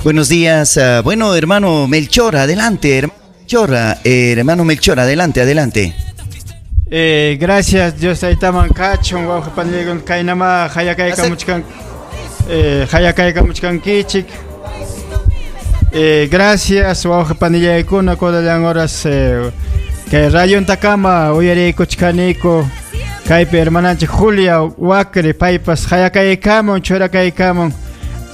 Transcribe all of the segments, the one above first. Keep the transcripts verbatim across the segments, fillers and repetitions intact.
Buenos días, uh, bueno, hermano Melchor, adelante, hermano Melchor, eh, hermano Melchor, adelante, adelante. Eh, gracias, Dios taytaman kachun, wawqi panillaykuna kaynama hayakaykamuchkan, eh, hayakaykamuchkankichik. Eh, gracias, wawqi panillaykuna, kunallan horas eh, kay rayuntakama uyariykuchkaniku. Kaypi hermananchik Julia Wacre paypas hayakaykamun, churakaykamun.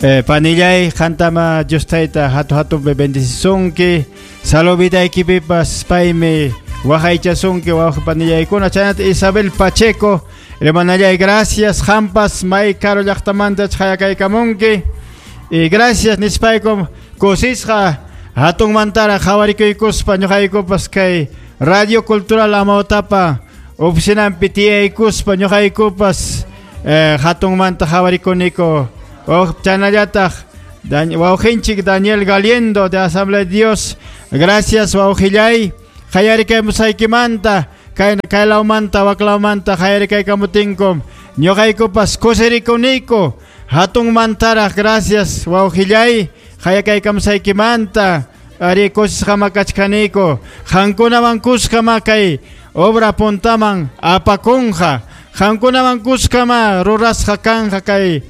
Eh, panillay, qantama Dios tayta hatu hatupi bendicisunki. Salubidaykipipas paymi waqaychasunki wawqi panillaykuna. Chaynata Isabel Pacheco, hermanallay, gracias. Qampas may karu llaqtamanta hayakaykamunki. Y gracias nispaykum kusisqa hatunmantara qhawarikuykuspa ñuqaykupas kay Radio Cultural Amawtapa oficinampi tiyaykuspa ñuqaykupas eh, hatunmanta qhawarikuniku. Chaynallataq wawqinchik Daniel Galiendo de Asamblea de Dios, gracias wawqillay, qayarikaymusaykimanta kay kaylawmanta waklawmanta qayarikaykamutinkum ñuqaykupas kusirikuniku hatunmantaraq, gracias wawqillay, qayakaykamusaykimanta ari kusisqama kachkaniku, qankunaman kuskama kay obra puntaman apakunqa, qankunaman kuskama rurasqa kanja kay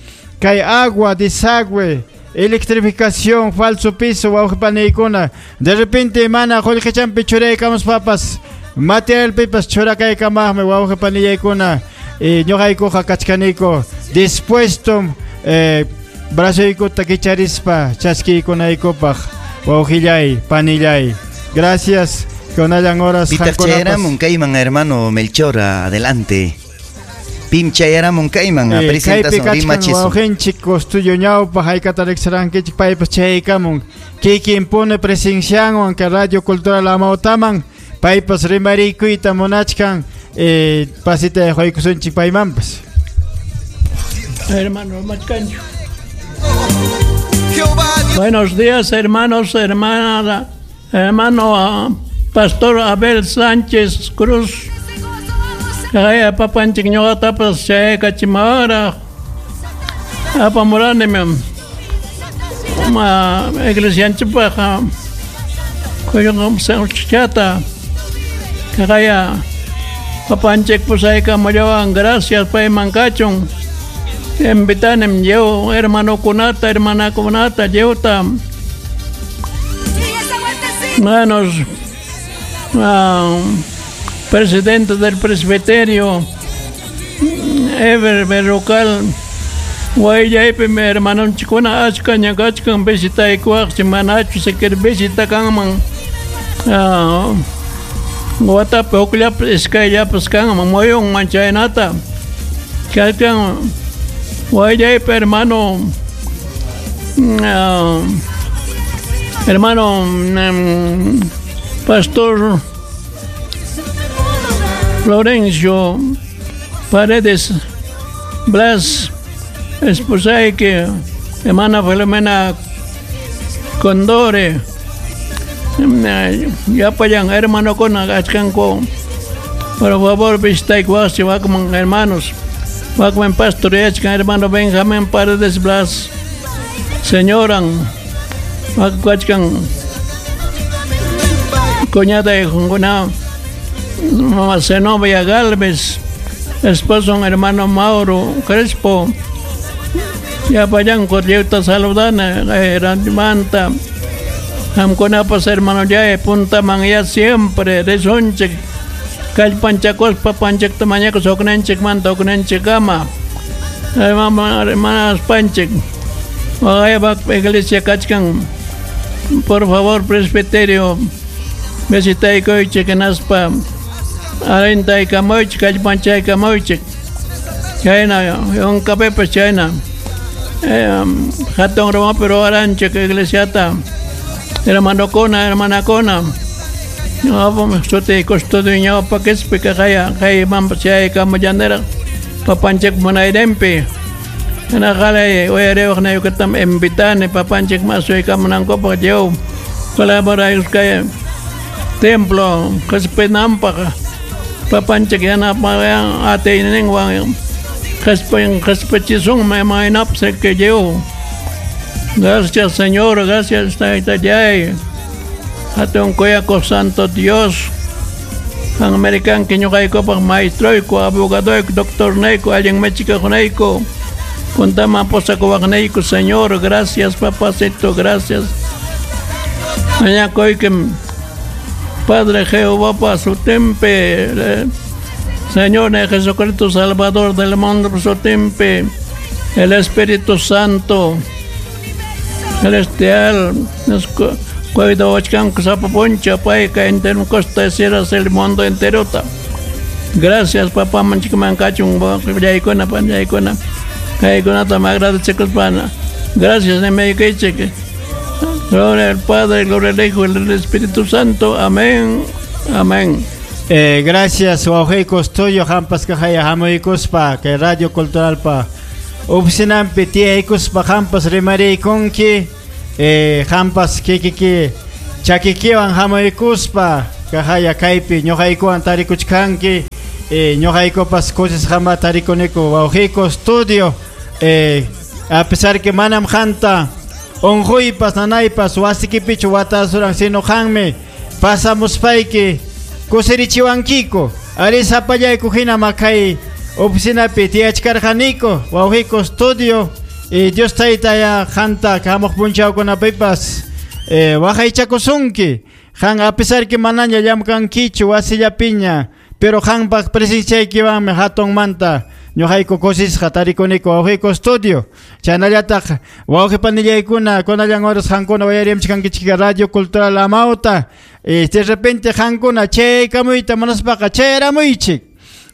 kay agua, desagüe, electrificación, falso piso, wawqi paniykuna. De repente mana qullqichampi churaykamuspapas, materialpipas churakaykamaqmi wawqi panillaykuna. Y ñuqaykuqa kachkaniku dispuesto eh, brazoykuta kicharispa chaskiykunaykupaq, wawqillay, panillay. Gracias, kunallan horas. Pitaq chayaramun kayman, hermano Melchor, adelante. Pim chayaramun kayman, eh, presentación rimachisun. Wawqinchik custuyo ñawpa haykata riqsirankichik paypas chaykamun. Kikin pune presencianwan kay Radio Cultural Amawtaman paypas rimarikuyta munachkan, eh, pasita quykusunchik paymanpas. Hermano Machcancho. Buenos días, hermanos, hermana, hermano uh, Pastor Abel Sánchez Cruz. Kaya papanchik ñuqatapas chaykachimawara apamuranimi ma iglesianchikpaq kuyunqamchata kaya papanchik pusaykamullawan, gracias payman kachun. Invitanim yo hermanokunata, hermanakunata llewta hermanos, uh, presidente del presbiterio Ever Berrocal, Guayaypi mi hermanonchikuna achka ñakachkan visitaykuwaqchik manachu sikir visitakanman watapi hukllapas iskayllapas kanman muyunman chaynata kachkan Guayaypi hermano uh, hermano um, pastor Florencio Paredes Blas, esposaiki, hermana Filomena Condore, llapallan hermanokuna kachkanku, por favor visitaykuwaqchik wakman hermanos, wakman pastoreachkan hermano Benjamín Paredes Blas, señoran, wakachkan cuñada hijunkuna, mamá Zenobia Galvez, esposo hermano Mauro Crespo, llapallanku lliwta saludana manta qamkunapas hermano ya puntaman ya siempre risunchik kallpanchakuspa panchikta mañakus hukninchikmanta hukninchikkama hermanas panchik waqaypak iglesia kachkan, por favor presbiterio visitaykuychik hinaspa alintaykamuychik kallpanchaykamuychik chayna yunkapipas chayna hatun rumapi ruwaranchik iglesiata hermanokuna hermanakuna ñuqapam sutiy custodio ñawpa qispi kaqaya kaymanpas chayaykamullaniraq papanchik munayninpi hinaqalay uyariwaqnaykutam invitani papanchik masuykamunankupaq lliw colaboraykuskay templo qispinanpaq papanchik yanapawan atiyninwan qhispin qhispichisunmi imaynapas lliw Gracias, Señor, gracias, Taytallay. Hatun kuyako Santo Dios. Ang American kiñuqaykupaq maestroyku, abogadoyku, doctornayku, allin machikakunayku. Puntama posakuwaqnayku, Señor, gracias, papacito, gracias. Mañakuykim Padre Jehová pa sutinpi, Señor Jesucristo Salvador del mundo sutinpi, el Espíritu Santo celestial nos cuidawachkanku sapa puncha payqa entero costa cierras el mundo entero. Gracias, papá, manchikman kachun yaykuna panchaykuna kaykunata agradecekuspa. Gracias, nimaykichik. Gloria al Padre, gloria al Hijo y al Espíritu Santo. Amén. Amén. Eh, gracias, wawqi Custodio, hampas kahaya hamuykuspa kay Radio Cultural pa oficinampi tiyaykuspa hampas rimariykunki, eh, hampas kikiki chakikiwan hamuykuspa kahaya kaypi ñuqaykuwan tarikuchkanki, eh, ñuqaykupas kusisqama tarikuniku wawqi Custodio, eh, a pesar que manam qanta unquypas nanaypas wasikipichu watasuran sino qanmi pasamuspayki kusirichiwankiku ari sapallayku hina makay oficinapi tiyachkarqaniku wawqi Custodio, y Dios taytaya qanta hamuq punchawkunapipas eh, waqaychakusunki qan a pesar que manaña llamkankichu wasillapiña pero qanpaq presenciaykiwanmi hatunmanta ñuqayku kusisqa tarikuniku wawqi Custodio. Chaynallataq wawqi panillaykuna kunallan horas qankuna wayariamchkankichik Radio Cultural Amauta, y de repente qankuna chaykamuyta munaspaqa chayramuychik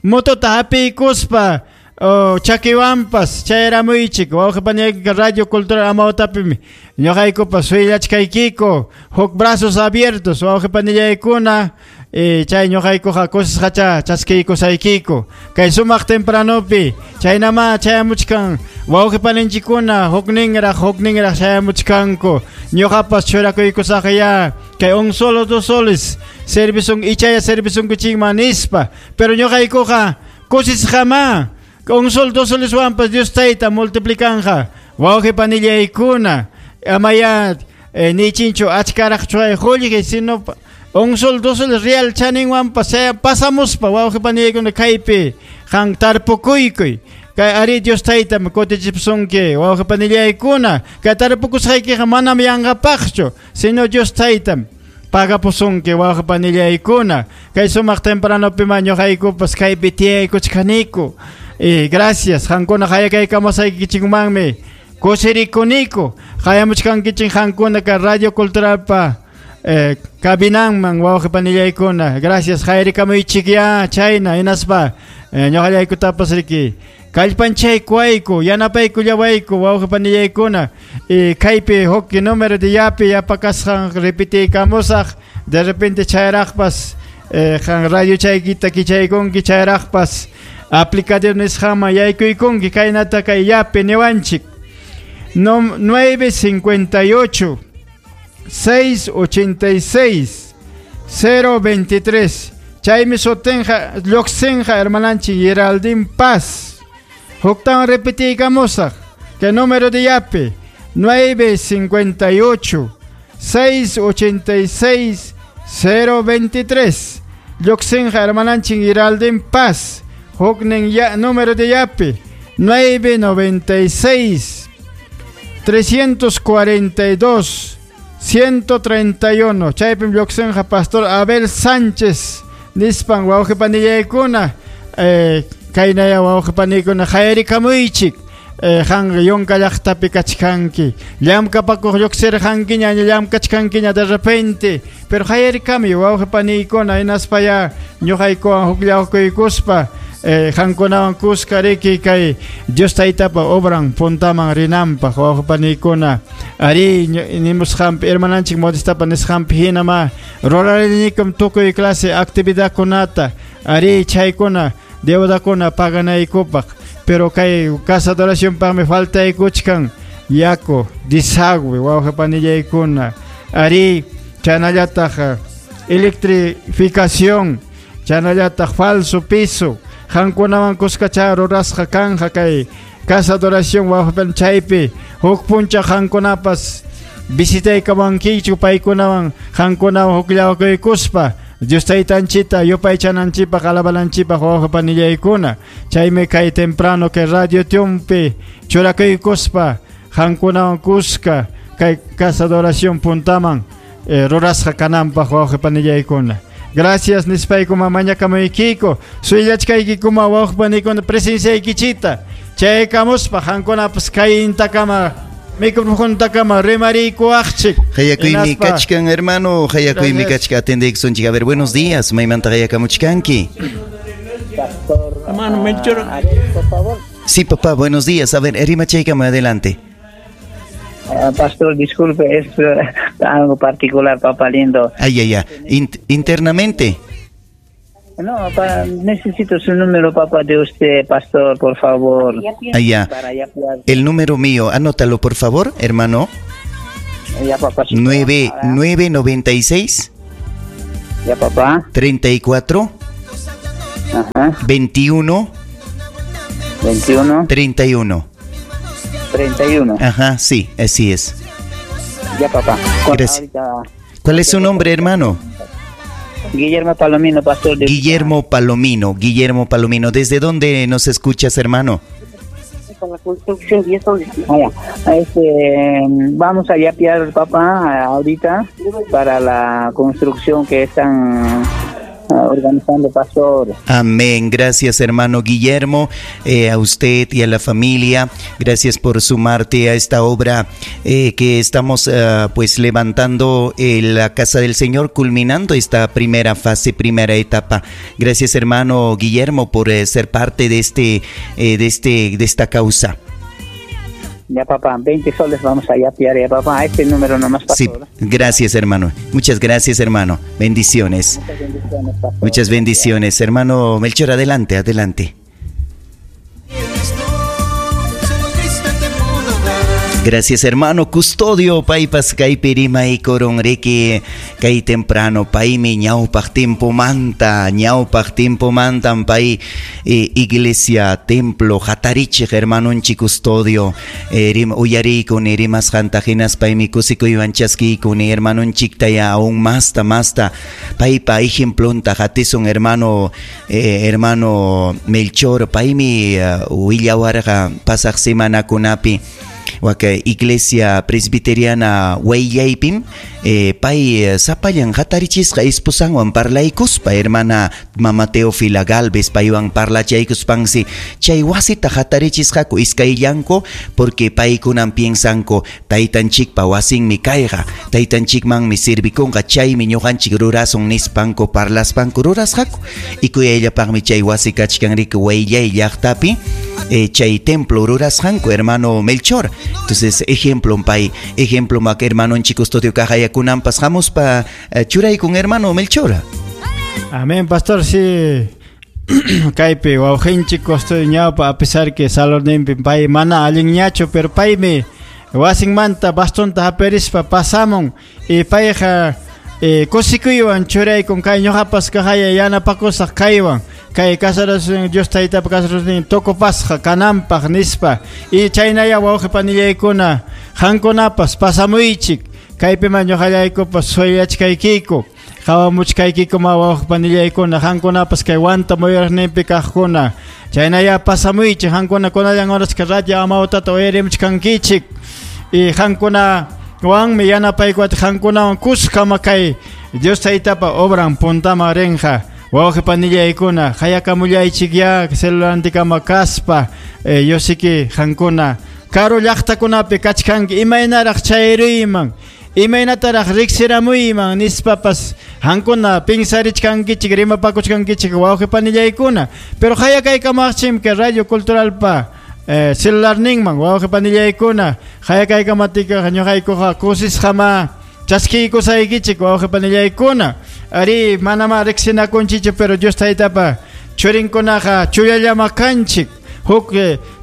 motota hapiykuspa oh, chakiwanpas chayramuychik wawqi panillaykuna Radio Cultural Amautapimi ñuqaykupas suyllachkaykiku huk brazos abiertos wawqi panillaykuna, eh, chay ñuqaykuqa kusisqacha chaskiykusaykiku kay sumaq tempranopi chaynama chayamuchkan wawqi paninchikkuna hukninraq hukninraq chayamuchkanku ñuqapas churakuykusaqya kay un solo dos soles servisun ichaya servisunkuchikman nispa pero ñuqaykuqa kusisqama un sol dos soles wanpas Dios tayta multiplicanja wawqi panillaykuna amaya eh, nichinchu achkaraq chuay qullqi sino un sol dos soles real chaninwanpas pasamuspa wawqi panillaykuna kaypi qan tarpukuykuy kay ari Dios taytam kutichipsunki wawqi panillaykuna kay tarpukusqaykiqa manam yanqapaqchu sino Dios taytam pagapusunki wawqi panillaykuna kay sumaq tempranopima ñuqaykupas kaypi tiyaykuchkaniku. Eh, gracias qankuna hayakaykamasaykichikmanmi kusirikuniku hayamuchkankichik qankuna kay Radio Culturalpa eh, kabinanman wawqi panillaykuna. Gracias hayrikamuychikya chayna hinaspa eh, ñuqallaykutapas riki kallpanchaykuwayku yanapaykullawayku wawqi panillaykuna, eh, kaypi huk número de yapi yapakasqan repitiykamusaq de repente chayraqpas eh, qan radio chaykita kichaykunki chayraqpas aplicativo nisqanman yaykuykunki kaynata kay yapi niwanchik nueve cincuenta y ocho seis ochenta y seis cero veintitrés chaymi sutinqa lluqsinqa hermananchik Geraldine Paz. Huktawan repitiykamusaq que número de yapi nueve cincuenta y ocho seis ochenta y seis cero veintitrés lluqsinqa hermananchik Geraldine Paz. Huknin ya, número de yapi nueve noventa y seis trescientos cuarenta y dos ciento treinta y uno chaypim lluqsinqa Pastor Abel Sánchez nispan wawqi panillaykuna, eh, kaynaya wawqi paniykuna hayrikamuychik, eh, qanqa yunka llaqtapi kachkanki llamkapakuq lluqsirqankiña llamkachkankiña de repente pero hayrikami wawqi paniykuna hinaspaya ñuqaykuwan hukllawkuykuspa eh, qankunawan kuska riki kay Dios taytapa obran puntaman rinanpaq wawqi paniykuna ari nimusqanpi hermananchik Modestapa nisqanpi hinama rurarinikum tukuy clase actividadkunata ari chaykuna deudakuna paganaykupaq pero kay casa de oracionpaqmi faltaykuchkan yaku desagüe wawqi panillaykuna ari chaynallataq electrificación chaynallataq falso piso qankunawan kuskacha rurasqa kanja kay casa de oración wawqi chaypi Huk puncha qankunapas visitaykamankichu paykunawan qankunawan hukllawakuykuspa Dios taytanchita yupaychananchipaq alabananchipaq wawqi panillaykuna. Chaymi kay temprano kay radio tiumpi churakuykuspa qankunawan kuska kay casa de oración puntaman eh, rurasqa kananpaq wawqi panillaykuna. Gracias nispaykuma mañakamuykiko suyllachkaykikuma wawqi panikuna presenciaykichita chaykamuspa qankunapas kayintakama microfontakama rimariykuwaqchik. Hayakuymi kachkan hermano, hayakuymi kachka atendeykusunchik. A ver, buenos días, maymanta hayakamuchkanki. Pastor, hermano Melchor, por favor. Sí, papá, buenos días. A ver, rimachaykama, adelante. Uh, pastor, disculpe, es uh, algo particular, papá lindo. Ay, ay, ay. In internamente. No, pa, necesito su número, papá, de usted, pastor, por favor. Allá. El número mío, anótalo, por favor, hermano. Ya, papá. nueve, nueve noventa y seis. Ya, papá. treinta y cuatro. Ajá. veintiuno. veintiuno. treinta y uno. treinta y uno. Ajá, sí, así es. Ya, papá. Gracias. ¿Cuál es su nombre, hermano? Guillermo Palomino, pastor. De... Guillermo Palomino, Guillermo Palomino. ¿Desde dónde nos escuchas, hermano? Ah, ya. Este, vamos a yapear, papá, ahorita para la construcción que están organizando, pastor. Amén. Gracias, hermano Guillermo, eh, a usted y a la familia. Gracias por sumarte a esta obra eh, que estamos eh, pues levantando en la casa del Señor, culminando esta primera fase, primera etapa. Gracias, hermano Guillermo, por eh, ser parte de este, eh, de este, de esta causa. Ya, papá, veinte soles vamos a yapear, ya, papá, este número nomás, pastor. Sí, gracias, hermano. Muchas gracias, hermano. Bendiciones. Muchas bendiciones, pastor. Muchas bendiciones, hermano Melchor, adelante, adelante. Gracias, hermano Custodio. Paypas kaypi rimay koronriki kay temprano paymi ñawpaq tiempo manta ñawpaq tiempo mantan pay eh, iglesia templo hatarichiq hermanonchik Custodio eh, rim uyariykuni rimasqanta hinaspaymi kusikuywan chaskiykuni hermanonchikta ya aún masta masta paypa ejemplonta hatisun hermano eh, hermano Melchor paymi uh, willawarqa pasaq semanakunapi waka iglesia presbiteriana wayllaypim eh, pay sapallan hatarichisqa esposanwan parlaykuspa hermana mama Teofila Galvez paywan parlachaykuspansi chay wasita hatarichisqaku iskayllanku porque paykunan piensanku taytanchikpa wasinmi kayqa taytanchikmanmi servikunqa chaymi ñuqanchik rurasun nispanku parlaspanku rurasqaku y kuyayllapaqmi chay wasi kachkanriki wayllay llaqtapi eh, chay templo rurasqanku hermano Melchor. Entonces, ejemplo, pay, ejemplo, mak hermano custodio kajayakunampas hamuspa churaykun hermano Melchor. Amén, pastor, sí. Kaypi wawqinchik custodio ñawpa a pesar que salorninpi pay mana allinñachu, pero paymi wasinmanta bastonta haperispa pasamun y payqa eh, kusikuywan churaykun kay ñuqapas kajaya yanapakusaq kaywan kay casarasun Dios taytapa casarasun tokopasqa kananpaq nispa y chaynaya wawqi panillaykuna qankunapas pasamuychik kaypiman ñuqallaykupas suyachkaykiku qawamuchkaykiku ma wawqi panillaykuna qankunapas kay wanta muyuraqninpi kaqkuna chaynaya pasamuychik qankuna kunallan horaska radio amawtata uyarimuchkankichik y qankuna wanmi yanapaykuwata qankunawan kuskama kay Dios taytapa obran puntama rinqa wawqi panillaykuna hayakamullaychik ya celulantikama kaspa eh, yosiki qankuna karu llaqtakunapi kachkanki imaynaraq chayruyman imaynataraq riqsiramuyman nispapas qankuna pinsarichkankichik rimapakuchkankichik wawqi panillaykuna pero hayakaykamaqchim kay radio culturalpa eh, celularninman wawqi panillaykuna hayakaykamatiqa ñuqaykuqa kusisqama chaskiykusaykichik wawqi panillaykuna ari manama riqsinakunchichu pero Dios taytapa churinkunaqa chullallama kanchik huk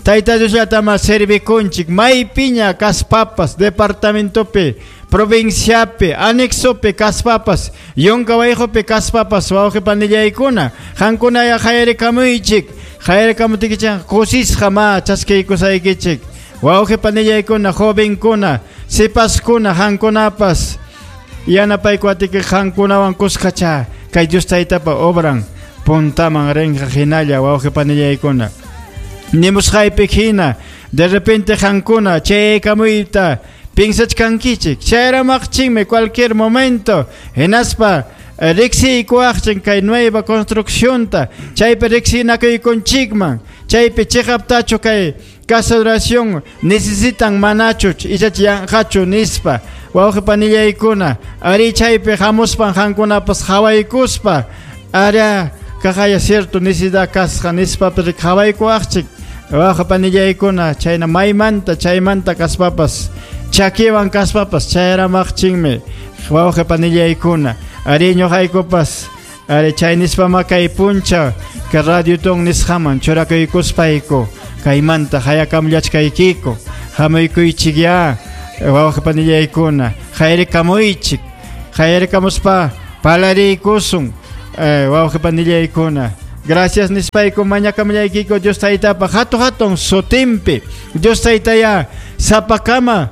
tayta Diosllatama servikunchik maypiña kaspapas departamentopi provinciapi anexopi kaspapas yunka wayqupi kaspapas wawqi panillaykuna qankunaya hayarikamuychik hayarikamutikichik kusisqa ma chaskiykusaykichik Wawqi panillaykuna, jovenkuna, sipaskuna, hankunapas yanapaykuatiki hankunawan kuskacha kay Dios taytapa obran puntaman rinqa hinalla wawqi panillaykuna. Nimusqaypi hina de repente hankuna chaykamuyta pinsachkankichik chayramaqchinmi cualquier momento hinaspa riqsiykuwaqchin kay nueva construccionta chaypi riqsinakuykunchikman chaypi chiqaptachu kay casa de oración necesitan manachu ichachi yanqachu nispa wawqi panillaykuna ari chaypi hamuspan hankunapas hawaykuspa ara kaqaya cierto necesidad kasqa nispa hawaykuwaqchik wawqi panillaykuna chayna maymanta chaymanta kaspapas chakiwan kaspapas chayramaqchinmi wawqi panillaykuna ari ñuqaykupas ari chay nispama kay puncha kay radio ton nisqaman churakuykuspayku kaymanta hayakamllachkaykiku hamuykuychik ya wawqi panillaykuna hayrikaamuychik hayrikamuspa palariykusun wawqi panillaykuna. Gracias nispayku mañakamllaykiku Dios taytapa hatu hatun sutinpi Dios taytaya sapakama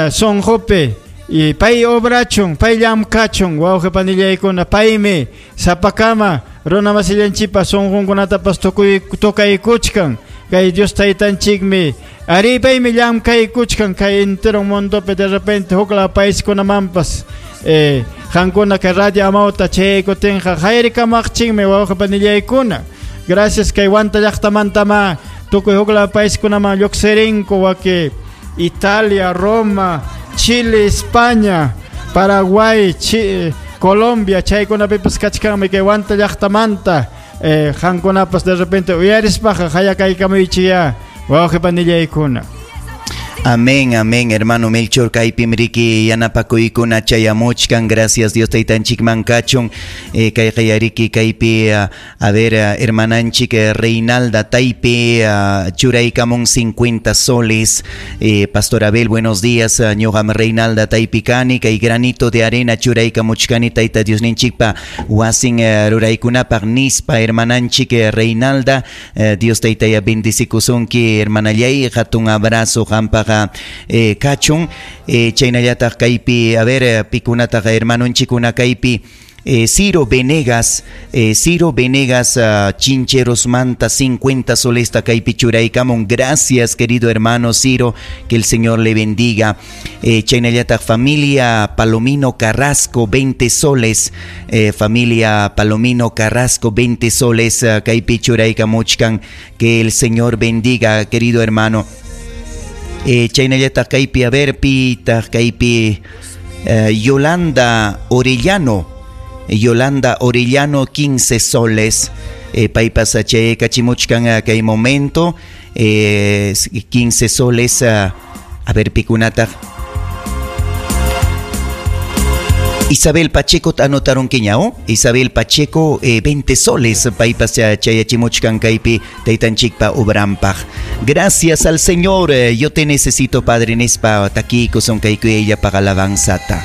sonqopi y pay obrachun, pay llamkachun, wawqi panillaykuna, paymi sapakama runa masillanchikpa sunqunkunatapas tukuy tukaykuchkan kay Dios taytanchikmi ari paymi llamkaykuchkan kay entero mundopi de repente hukla paiskunamanpas eh hankuna kay radio amawta chaykutinqa hayrikaamaqchinmi wawqi panillaykuna. Gracias kay Huanta llaqtamantama tukuy hukla paiskunaman lluqsirinku waki Italia, Roma, Chile, España, Paraguay, Chi Colombia, chaykunapipas kachkanmi kay Huanta llaqtamanta eh, hankunapas de repente uyarispaqa hayakaykamuychiya wawqi panillaykuna. Amén, amén, hermano Melchor, kaypim riki yanapakuykuna chayamuchkan, gracias Dios taytanchikman kachun, eh, kayqa yariki kaypi, uh, a ver, uh, hermananchik uh, Reinalda Taype, uh, churaykamun cincuenta soles, eh, Pastor Abel, buenos días, uh, ñuqam Reinalda Taypi kani, kay granito de arena churaykamuchkani tayta Diosninchikpa wasin uh, ruraykunapaq nispa, hermananchik uh, Reinalda, uh, Dios taytaya bendicikusunki, hermanallay, hatun abrazo qampaqa Eh, kachun, eh, chaynallataq kaypi, a ver, pikunataqa hermanunchikuna kaypi, eh, Ciro Venegas, eh, Ciro Venegas, uh, Chincheros Manta, cincuenta soles kaypi churaykamun, gracias querido hermano Ciro, que el Señor le bendiga. Eh, chaynallataq familia Palomino Carrasco, veinte soles, eh, familia Palomino Carrasco, veinte soles, uh, kaypi churaykamuchkan, que el Señor bendiga, querido hermano. Eh, chaynallataq kaypi, a ver, pitaq kaypi, eh, Yolanda Orellano, Yolanda Orellano, quince soles, eh, paypas chaykachimuchkan kay momento, eh, quince soles, uh, a ver, pikunataq Isabel Pacheco, anotaron kiñao, Isabel Pacheco, eh, veinte soles, paypas chayachimuchkan kaypi taytanchikpa obrampaj. Gracias al Señor, eh, yo te necesito, Padre, nispa takikusun kaykuya paga alabanzata.